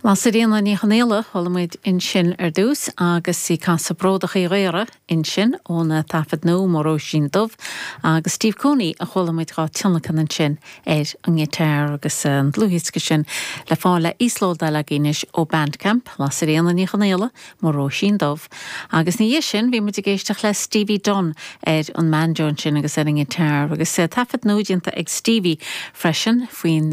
Lasairfhíona Ní Chonaola, chuala muid ansin ar dtús agus í ag casadh Bródach Uí Ghaora ansin óna taifead nua Mo Róisín Dubh agus Steve Cooney a chuala muid dhá tionlacan ansin ar an ngiotár agus an dlúthdhiosca sin le fáil le íoslódáil againn anois ó Bandcamp, Lasairfhíona Ní Chonaola, Mo Róisín Dubh. Agus ina dhiaidh sin bhí muid ag éisteacht le Stevie Dunne ar an mbanjo ansin agus ar an ngiotár agus taifead nua déanta ag Stevie freisin faoin.